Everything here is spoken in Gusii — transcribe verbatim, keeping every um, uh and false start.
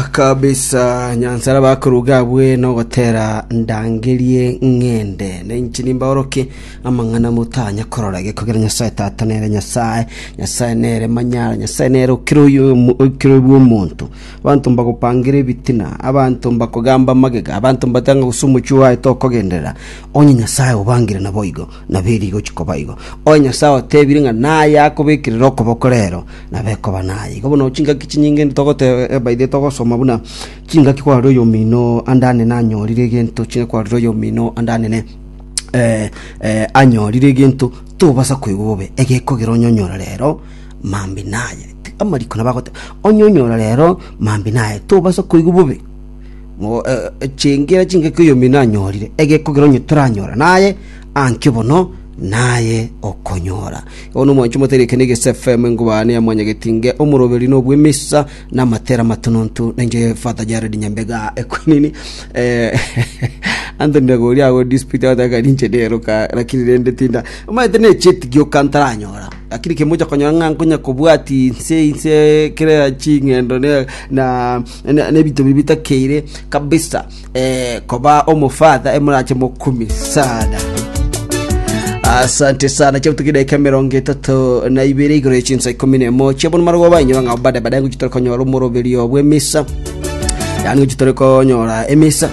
Kabisa, nyansara bakoruga abwe nogotera ndangerie ng'ende na inche nimbaoroke amang'ana motanya korora. Gekogera Nyasaye Tata nere Nyasaye, Nyasaye nere manyara, Nyasaye nere okero oyo okero bw'omonto. Abanto mbagopangera ebitina, abanto mbakogamba magega, abanto mbatanga gose omochie oaye tokogenderera. Onye Nyasaye obangire naboigo, nabo eri gochi koba igo. Onye Nyasaye otebire ng'a naye akobekerera okoboko rero, nabo ekoba naye. Igo bono chingaki chinyinge togoteba by the togosoma buna chingaki kwarora oyomino ande anene anyorire egento, chingaki kwarora oyomino ande anene eh, eh, anyorire egento, tobasa koigwa bobe. Egekogera onyonyora rero mambi naye. Amariko nabo agoteba onyonyora rero mambi naye, tobasa koigwa bobe. Mo- eh, eh, chengera chingaki oyomino anyorire, egekogera onye toranyora naye ankio bono naye okonyora. Bono omwancho motereke na Egese F M, engubane ya mwanyagetinge, omoroberi na obwemisa na amatera matonontu, nenche Father Jared Nyambega ekwinini. eh, Anthony Ndagori ago dispute agataka ninche neroka, lakini rende tinda omanyete necheti gioka ntaranyora, lakini kemocha konyora ng'a nkonya kobwati inse inse kera ching'endo ne na na- nebinto biri bitakeire kabisa. eh, koba omofather emorache mokumi sana. Asante sana. Chabutuki dakika mirongo etato na ibere igoro ya chinsa ikomi na emo chiabono marogo bainyora ng'a bade bade ngochi tore konyora omoroberio bw'emisa, yaani ngochi tore konyora emisa.